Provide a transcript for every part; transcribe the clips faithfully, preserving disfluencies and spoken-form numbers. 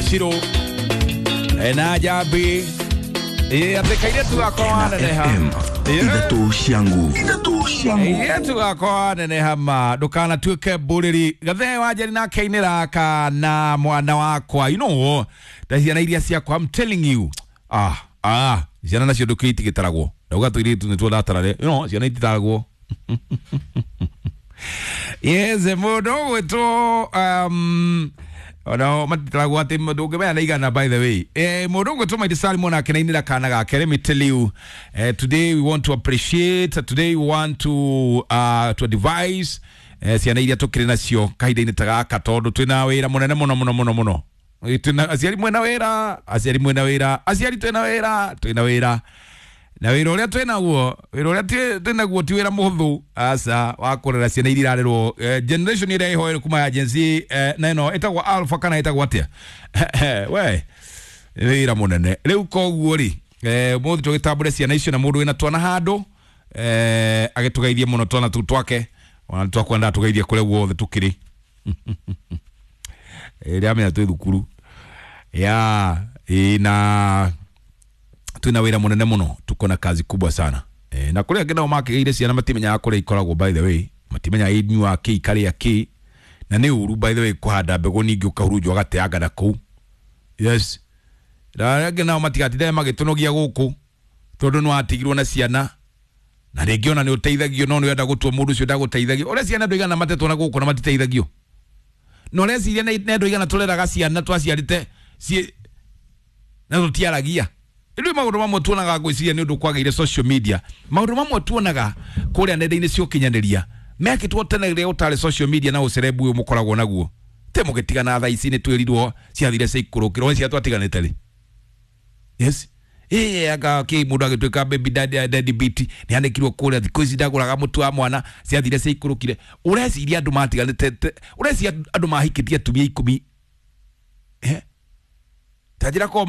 Shiro na Njambi ĩ atĩ kairĩtu gakwa waneneha. Ithatũ cia nguvu. Ithatũ cia nguvu. Kairĩtu gakwa waneneha ma ndũkanatuĩke mbũrĩri. Gathee wa Njeri nake ainĩra kana mwana wakwa, you know, nda ciana iria ciakwa, I'm telling you, ah ah ciana nacio ndũkĩ itigĩtaragwo, ndauga tũirĩtu nĩtuo ndatarare, you know, ciana ititaragwo. Yes, mũndũ ũgwĩtwo um, ona matitaragwo atĩ ndũngĩmenya na igana, by the way. Eh, mũndũ ũgwĩtwo Maitũ Salim onake nĩainĩra kana gake. Let me tell you, eh, today we want to appreciate, today we want to uh, to advise eh, ciana iria tũkĩrĩ nacio kahinda-inĩ ta gaka, tondũ twĩna wĩra mũnene mũno mũno mũno mũno. Twĩna aciari mwena wĩra, aciari mwena wĩra, aciari twĩna wĩra, twĩna wĩra na wĩra ũrĩa twĩnaguo, wĩra ũrĩa twĩnaguo ti wĩra mũhũthũ aca, wa kũrera ciana iria irarerwo eh, generation ĩrĩa ĩhoere kuma ya Gen Z eh, na ĩno ĩtagwo alpha kana ĩtagwo atĩa, we wĩra mũnene. Rĩu koguo rĩ, eh, ũmũthĩ tũgĩtambũre ciana icio na mũndũ wĩna twana handũ eh, agĩtũgeithie mũno twana tũu twake, ona nĩtwakwendaga tũgeithie kũrĩa guothe tũkĩrĩ ĩrĩa amenya twĩ thukuru ya ĩ, na twina wĩra mũnene mũno, tuko na kazi kubwa sana e, na kũrĩa angĩ nao makĩgĩire ciana matimenyaga kũrĩa ikoragwo, by the way, matimenyaga inyuaga kĩ, ikarĩa kĩ, na nĩ ũru, by the way, kũhanda mbegũ ningĩ ũkahurunjwo ũgateanga na kũu. Yes, na arĩa angĩ nao matigatinde magĩtũnogia gũkũ tondũ nĩ watigirwo na ciana na rĩngĩ ona nĩ ũteithagio, no nĩ ũrenda gũtua mũndũ ũcio ndagũteithagio. Ũrĩa ciana andũ igana matetwo na gũkũ na matiteithagio, na ũreciria nĩ andũ igana tũreraga ciana twaciarĩte ciĩ na tũtiaragia. Rĩu maũndũ mamwe tuonaga, ngwĩciria nĩ ũndũ kwagĩire social media, maũndũ mamwe tuonaga kũrĩa nenda-inĩ cia ũkinyanĩria mekĩtwo tene rĩrĩa ũtarĩ social media na ũcerebu ũyũ mũkoragwo naguo te mũgĩtigana. Thaa ici nĩ twĩrirwo ciathire ciaikũrũkĩrwo cia twatiganĩte rĩ. Yes, ĩĩ, anga kĩ mũndũ agĩtuĩka baby daddy, daddy beat nĩ anĩkirwo kũrĩa thikũ ici ndagũraga mũtu wa mwana, ciathire ciaikũrũkire. Ũreciria andũ matiganĩte, ũreciria andũ mahikĩtie atumia ikũmi, eh ta njĩra ko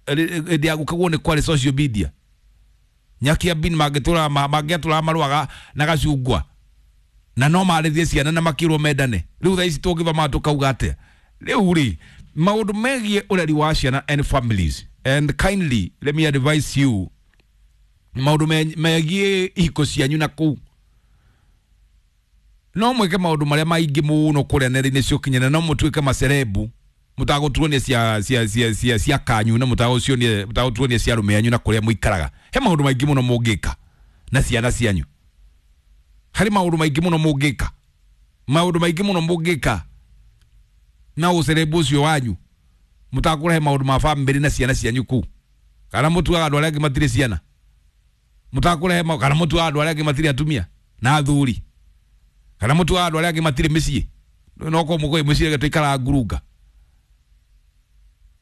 hĩndĩ ya gũkagwo nĩ kwarĩ social media, nyakia bin mangĩtũra mangĩatũraga marũaga na gacungwa na no marĩthie ciana na makĩrwo mendane. Rĩu thaa ici tũngĩthoma tũkauga atĩa? Rĩu rĩ, maũndũ megiĩ ũreri wa ciana and families, and kindly let me advise you, maũndũ megiĩ ihiko cianyu na kũu, no mwĩke maũndũ marĩa maingĩ mũno kũrĩa nenda-inĩ cia ũkinyanĩria, no mũtuĩke macerebu mũtagũtuonia cia cia cia cia cia kanyu na mũtagũcionia mũtagũtuonia cia arũme anyu na kũrĩa mũikaraga. He maũndũ maingĩ mũno mũngĩka na ciana cianyu, harĩ maũndũ maingĩ mũno mũngĩka, maũndũ maingĩ mũno mũngĩka na ũcerebu ũcio wanyu mũtakũrehe maũndũ ma bamĩrĩ na ciana cianyu kũu, kana mũtuaga andũ arĩa angĩ matirĩ ciana, mũtakũrehe, kana mũtuaga andũ arĩa angĩ matirĩ atumia na athuri, kana mũtuaga andũ arĩa angĩ matirĩ mĩciĩ, no korwo mũkũĩ mũciĩ reke tũikaraga ngurunga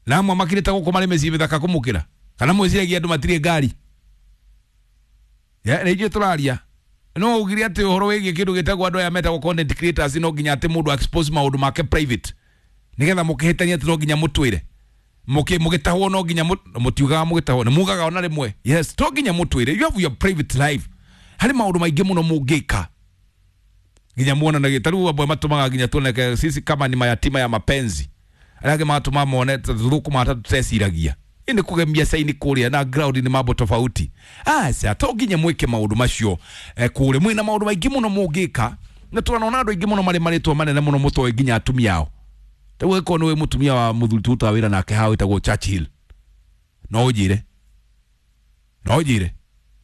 na amwe makirĩte gũkũ marĩ mĩciĩ mĩthaka kũmũkĩra, kana mwĩciragia andũ matirĩ ngari nĩ ithuĩ tũraria. No ugire atĩ ũhoro wĩgiĩ kĩndũ gĩtagwo andũ aya metagwo content creators, no nginya atĩ mũndũ expose maũndũ make private nĩgetha mũkĩhĩtania, atĩ no nginya mũtwĩre mũgĩtahwo, no nginya mũtiugaga mũgĩtahwo, nĩ mugaga ona rĩmwe. Yes, to nginya mũtwĩre, you have your private life. Harĩ maũndũ maingĩ mũno mũngĩka nginya muonanagie. Ta rĩu amwe matũmaga nginya tuoneke sisi kama ni mayatima ya mapenzi, arĩa angĩ magatũma mone tũthũkũma ta tũteciragia ĩ nĩ kũgemia caini kũrĩa na ground nĩ mambo tofauti. Aca, to nginya mwĩke maũndũ macio eh, kũrĩa mwĩna maũndũ maingĩ mũno mũngĩka, na tũranona andũ aingĩ mũno marĩ marĩtwa manene mũno mũtoĩ nginya atumia ao. Rĩu ĩkorwo nĩ wĩ mũtumia wa mũthuri tũrutaga wĩra nake haha wĩtagwo Churchill, no ũnjĩre no ũnjĩre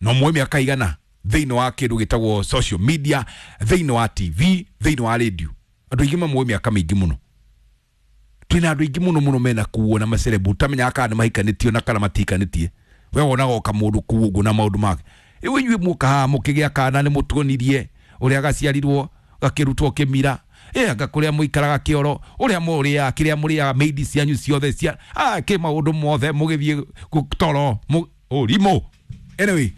no muoe mĩaka igana thĩinĩ wa kĩndũ gĩtagwo social media, thĩinĩ wa T V, thĩinĩ wa radio, andũ aingĩ mamuoe mĩaka mĩingĩ mũno. Twĩna andũ aingĩ mũno mũno mena kuo na macerebu ũtamenyaga kana nĩ mahikanĩtio na kana matihikanĩtie. We wonaga o kamũndũ kuu ũguo na maũndũ make. Rĩu inyuĩ muoka haha mũkĩgĩa kana nĩ mũtuonirie ũrĩa gaciarirwo gakĩrutwo kĩmira, ĩ anga kũrĩa mũikaraga kĩoro, ũrĩa mũrĩaga, kĩrĩa mũrĩaga, maidi cianyu ciothe cia ah, kĩ maũndũ mothe mũgĩthiĩ toro ũrimũ. Anyway,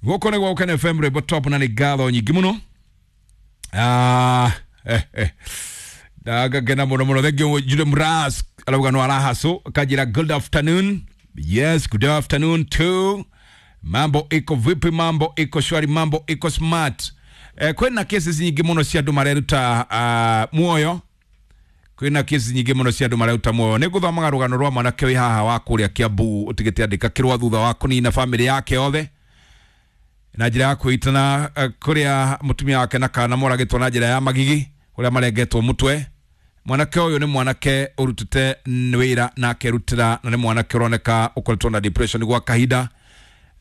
gũkũ nĩ gwa Ũkene F M, rwĩmbo top, na nĩ ngatho nyingĩ mũno. Ah, eh, eh. Ndagakena mũno mũno. Thank you. Jude Mras arauga no arahaco kanjĩra good afternoon. Yes, good afternoon too. Mambo iko vipi? Mambo iko shwari, mambo iko smart. Eh, kwĩna cases nyingĩ mũno cia andũ mareruta uh, muoyo. Kwina kesi nyingĩ mũno cia andũ mareuta muoyo. Nĩ ngũthomaga rũgano rwa mwanake wĩ haha wa kũrĩa Kiambu ũtigĩte andĩka kĩrũa thutha wa kũnina bamĩrĩ yake yothe na njĩra ya kwĩitana kũrĩa mũtumia wake na kana moragĩtwo na njĩra ya magigi kũrĩa marengetwo mũtwe. Mwanake ũyũ nĩ mwanake ũrutĩte wĩra na akerutĩra, na nĩ mwanake ũroneka ũkoretwo na depression gwa kahinda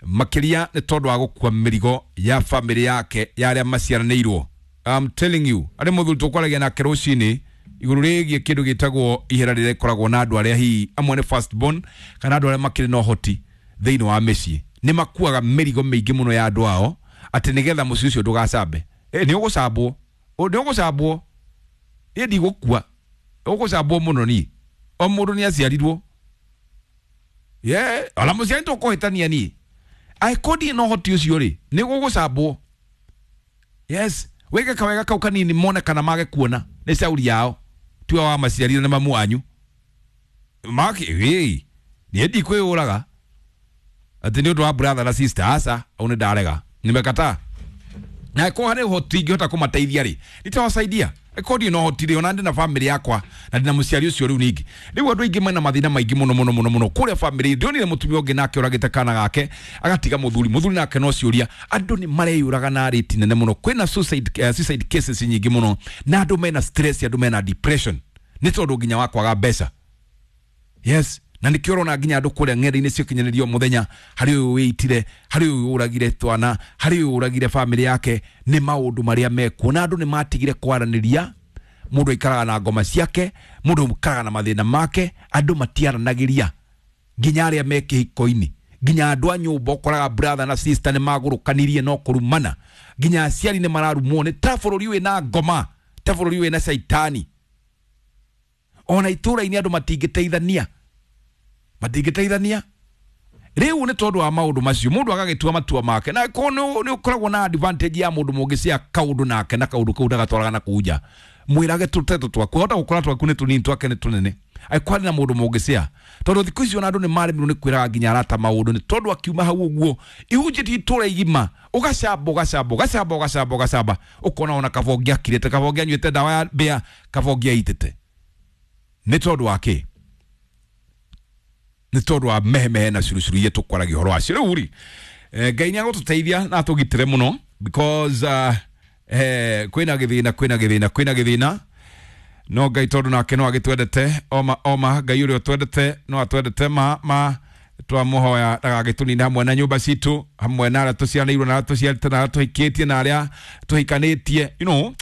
makĩria nĩ tondũ wa gũkua mĩrigo ya bamĩrĩ yake ya arĩa maciaranĩirwo. I'm telling you, arĩ mũthuri tũkwaragia nake rũcinĩ igũrũ rĩgiĩ kĩndũ gĩtagwo ihera rĩrĩa rĩkoragwo na andũ arĩa hihi amwe nĩ first born kana andũ arĩa makĩrĩ na ũhoti thĩinĩ wa mĩciĩ, nĩ makuaga mĩrigo mĩingĩ mũno ya andũ ao atĩ nĩgetha mũciĩ ũcio ndũgacambe. Eh, nĩ ũgũcambwo, nĩ ũgũcambwo, ĩ ndigũkua, ũgũcambwo mũno niĩ. O mũndũ nĩ aciarirwo, ye ona mũciari tũkũhĩtania niĩ angĩkorwo ndirĩ na ũhoti ũcio rĩ, nĩ gũgũcambwo. Yes, wĩke kawega kau kanini mone kana mage kuona nĩ cauri yao tiwe wa maciarire na mamu wanyu maki ĩ niĩ ndikwĩyũraga atĩ nĩ ũndũ wa brother na sister, aca au nĩ ndarega, nimekataa. Na angĩkorwo harĩ ũhoti ingĩhota kũmateithia rĩ, nitawasaidia. Angĩkorwo ndirĩ na ũhoti rĩ, ona ndĩ na bamĩrĩ yakwa na ndĩ na mũciari ũcio rĩu ningĩ. Rĩu andũ aingĩ mena mathĩna maingĩ mũno mũno mũno mũno kũrĩa bamĩrĩ. Ndionire mũtumia ũngĩ nake ũragĩte kana gake agatiga mũthuri, mũthuri nake no ciũria. Andũ nĩ mareyũraga na rate nene mũno, kwĩna suicide, uh, suicide cases nyingĩ mũno, na andũ mena stress, andũ mena depression nĩ tondũ nginya wa kwaga mbeca. Yes, na nĩkĩo ũrona nginya andũ kũrĩa ng'enda-inĩ cia ũkinyanĩria o mũthenya, harĩ ũyũ wĩitire, harĩ ũyũ ũragire twana, harĩ ũyũ ũragire bamĩrĩ yake, nĩ maũndũ marĩa mekuo. Na andũ nĩ matigire kwaranĩria, mũndũ aikaraga na ngoma ciake, mũndũ aikaraga na mathĩna make, andũ matiaranagĩria nginya arĩa me kĩhiko-inĩ, nginya andũ a nyũmba ũkoraga brother na sister nĩ magũrũkanirie no kũrumana, nginya aciari nĩ mararumwo. Nĩ ta bũrũri wĩna ngoma, ta bũrũri wĩna caitani. Ona itũũra-inĩ andũ matingĩteithania, matingĩteithania rĩu nĩ tondũ wa maũndũ macio. Mũndũ agagĩtua matua make, na ko nĩ ũkoragwo na advantage ya mũndũ mũngĩcia kaũndũ nake na kaũndũ kau ndagatwaraga na kũu nja, mwĩrage tũteto twaku, hota gũkora twaku nĩ tũnini twake nĩ tũnene, angĩkorwo harĩ na mũndũ mũngĩcia. Tondũ thikũ ici ona andũ nĩ maremirwo nĩ kwĩraga nginya arata maũndũ, nĩ tondũ akiuma hau ũguo ihunjĩtie itũũra igima, ũgacamba ũgacamba ũgacamba ũgacamba ũgacamba, ũkona ona kaba ũngĩakirĩte, kaba ũngĩanyuĩte ndawa ya mbĩa, kaba ũngĩaitĩte. Nĩ tondũ wa kĩ? Nĩ tondũ wa mehemehe na curucuru iria tũkwaragia ũhoro wacio. Rĩu rĩ, Ngai nĩ agũtũteithia na atũgitĩre mũno because uh, eh, kwĩna gĩthĩna, kwĩna gĩthĩna, kwĩna gĩthĩna, no Ngai tondũ nake no agĩtwendete oma oma, Ngai ũrĩa ũtwendete no atwendete ma ma, twamũhoya ndagagĩtũnine hamwe na nyũmba citũ, hamwe na arĩa tũciaranĩirwo na arĩa tũciarĩte na arĩa tũhikĩtie na arĩa tũhikanĩtie, you know,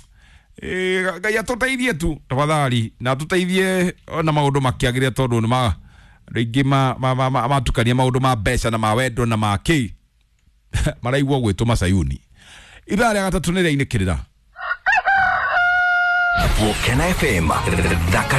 Ngai atũteithie tu tafadhali, na atũteithie ona maũndũ makĩagĩrĩre, tondũ nĩ ma rĩngĩ matukania maũndũ ma mbeca na ma wendo na ma kĩ maraigua gwĩtwo macayuni. Ithaa rĩa gatatũ nĩ rĩainĩkĩrĩra. Gũkena F M thaka